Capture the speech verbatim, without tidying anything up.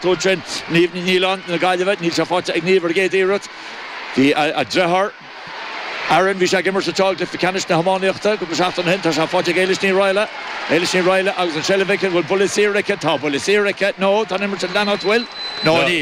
Sin Niamh Ní Nialláin na Gaillimhe níl sé faighte ag Niamh ar an gcéad iarracht. Bhí a deartháir Aaron bhí sé ag imirt sa cluiche ceannais na hiománaíochta go seachtain ó shin tá sé faighte ag Éilis Ní Raghallaigh Éilis Ní Raghallaigh agus an seilbh aici bhfuil buille saor aici tá buille saor aici nó tá imirt an leanacht bhfuil nó níl.